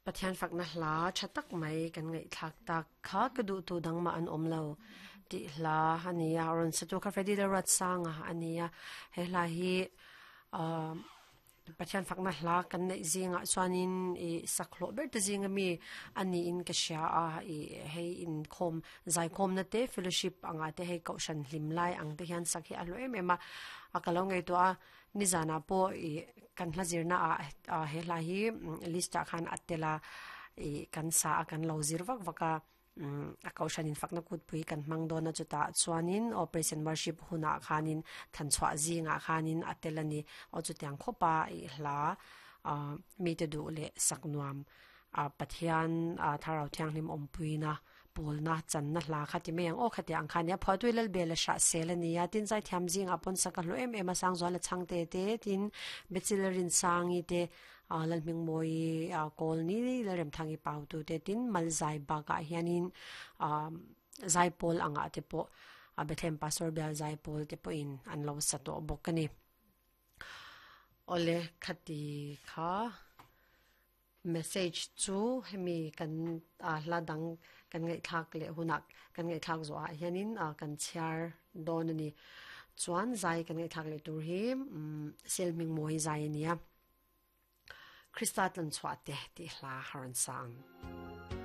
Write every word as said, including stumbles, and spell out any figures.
Pathian fakna hla tha tak mai kan ngaih thlak tak kha ka duh tu dang ma an awm lo tih hla ania rawn sa tu kha Freddy Lalruat Sanga ania he hla hi ah Pathian fakna hla kan neih zingah chuanin ih sakhlawh ber te zinga mi ani in ka hria a ih hei inkhawm zaikhawmna te fellowship anga te hei kohhran hlim lai ang te hian sak hi a hlawh em em a a ka lo ngaihtuah a nizanah pawh ih kan hla zirna ah ah he hla hi list ah khan a tel a ih kan sa a kan lo zir vak vak a umm a kohhran in fakna kutpui kan hmang dawn a chutah chuanin aw praise and worship hunah khanin than chhuah zingah khanin a tel a ni aw chutiang khawp a ih hla ah mite duh leh sak nuam ah Pathian ah thlarau thianghlim awmpuina pawlna channa hla kha ti mai ang aw khati ang kha nia phuahtui lalbel a hrah sel a ni a tin zaithiam zingah pawn sak a hlawh em em a sangzual a chhang te te tin bechil rinsangi te ah lalhmingmawi ah kawl ni lalremthangi pau tu te tin malzai bakah hianin ah zaipawl angah te pawh a Bethlehem Pastor bial zaipawl te pawhin an lo sa tawh bawk a ni. Awle khati kha message chu hemi kan ah hla dang kan ngaihthlak leh hunah kan ngaihthlak zawh ah hianin ah kan chhiar dawn a ni. Chuan zai kan ngaihthlak leh tur hi umm Selhmingmawi zai a nia. Krista tlanchhuah te tih hla a rawn sa ang.